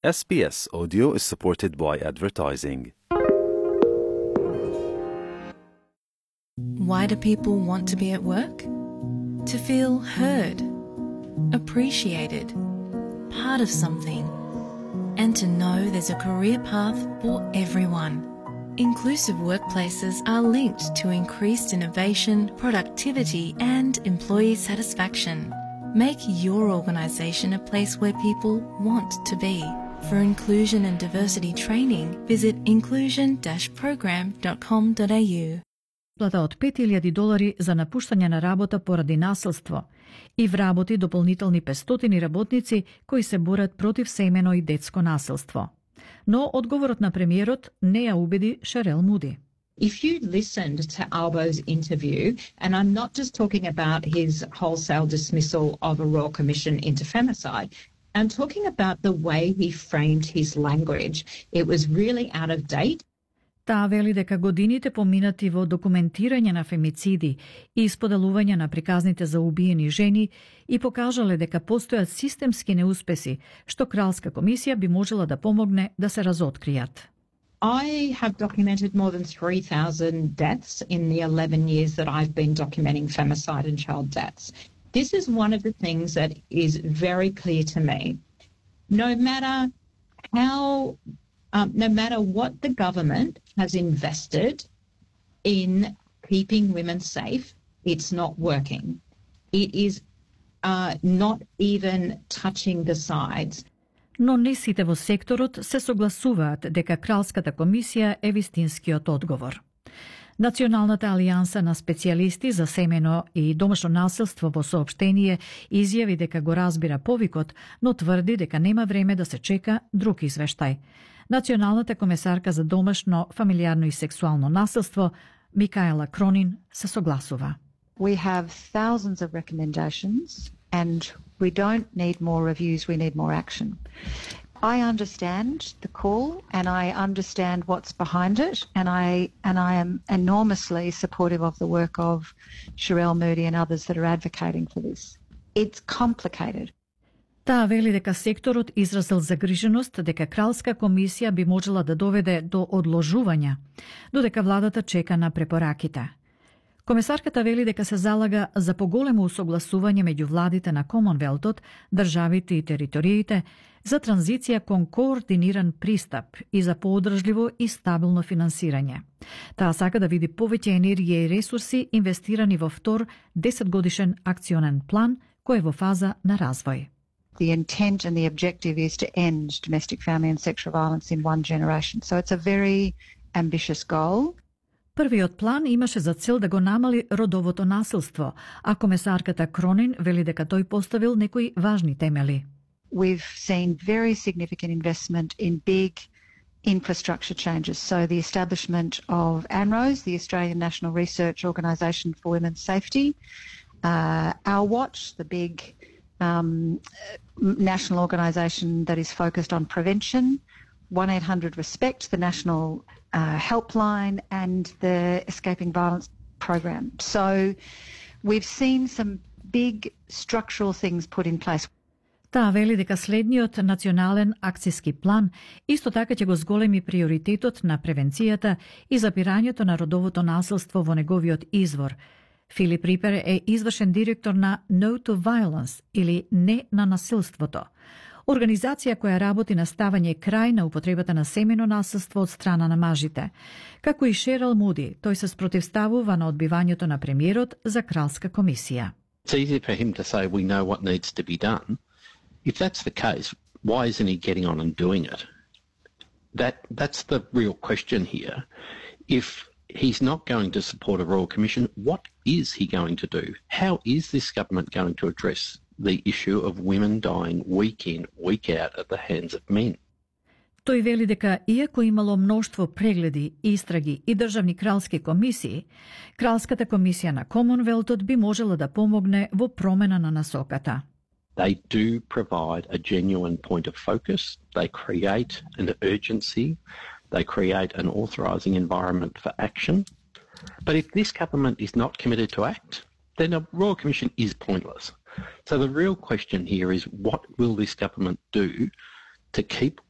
SBS Audio is supported by advertising. Why do people want to be at work? To feel heard, appreciated, part of something, and to know there's a career path for everyone. Inclusive workplaces are linked to increased innovation, productivity, and employee satisfaction. Make your organisation a place where people want to be. For inclusion and diversity training, visit inclusion-program.com.au. Плата од $5,000 за напуштање на работа поради насилство и вработи дополнителни 500 работници кои се борат против семено и детско насилство. Но одговорот на премиерот не ја убеди Шерел Муди. If you listened to Albo's interview, and I'm not just talking about his wholesale dismissal of a Royal Commission into femicide, I'm talking about the way he framed his language. It was really out of date. Таа вели дека годините поминати во документирање на фемициди и исподелување на приказните за убиени жени и покажале дека постојат системски неуспеси, што Кралска комисија би можела да помогне да се разоткријат. I have documented more than 3,000 deaths in the 11 years that I've been documenting femicide and child deaths. This is one of the things that is very clear to me. No matter what the government has invested in keeping women safe, it's not working. It is not even touching the sides. Но не сите во секторот се согласуваат дека Кралската комисија е вистинскиот одговор. Националната алијанса на специјалисти за семено и домашно насилство во соопштение изјави дека го разбира повикот, но тврди дека нема време да се чека друг извештај. Националната комесарка за домашно, фамилијарно и сексуално насилство Микаела Кронин се согласува. We have thousands of recommendations and we don't need more reviews, we need more action. I understand the call and I understand what's behind it and I am enormously supportive of the work of Sherelle Moody and others that are advocating for this. It's complicated. Таа вели дека секторот изразил загриженост дека Кралска комисија би можела да доведе до одложувања, додека владата чека на препораките. Комесарката вели дека се залага за поголемо усогласување меѓу владите на Комонвелтот, државите и териториите, за транзиција кон координиран пристап и за поодржливо и стабилно финансирање. Таа сака да види повеќе енергија и ресурси инвестирани во втор 10-годишен акционен план кој е во фаза на развој. The intent and the objective is to end domestic, family and sexual violence in one generation. So it's a very ambitious goal. Првиот план имаше за цел да го намали родовото насилство, а комесарката Кронин вели дека тој поставил некои важни темели. We've seen very significant investment in big infrastructure changes. So the establishment of ANROS, the Australian National Research Organisation for Women's Safety, Our Watch, the big national organisation that is focused on prevention, 1-800-RESPECT, the national helpline, and the Escaping Violence program. So we've seen some big structural things put in place. Таа вели дека следниот национален акцијски план исто така ќе го зголеми приоритетот на превенцијата и запирањето на родовото насилство во неговиот извор. Филип Рипер е извршен директор на No to Violence или Не на насилството, организација која работи на ставање крај на употребата на семено насилство од страна на мажите. Како и Шерел Муди, тој се спротивставува на одбивањето на премиерот за Кралска комисија. It's easy for him to say we know what needs to be done. If that's the case, why isn't he getting on and doing it? That's the real question here. If he's not going to support a Royal Commission, what is he going to do? How is this government going to address the issue of women dying week in, week out at the hands of men? Тој вели дека, иако имало мноштво прегледи, истраги и државни кралски комисии, Кралската комисија на Комонвелтот би можела да помогне во промена на насоката. They do provide a genuine point of focus. They create an urgency. They create an authorising environment for action. But if this government is not committed to act, then a Royal Commission is pointless. So the real question here is, what will this government do to keep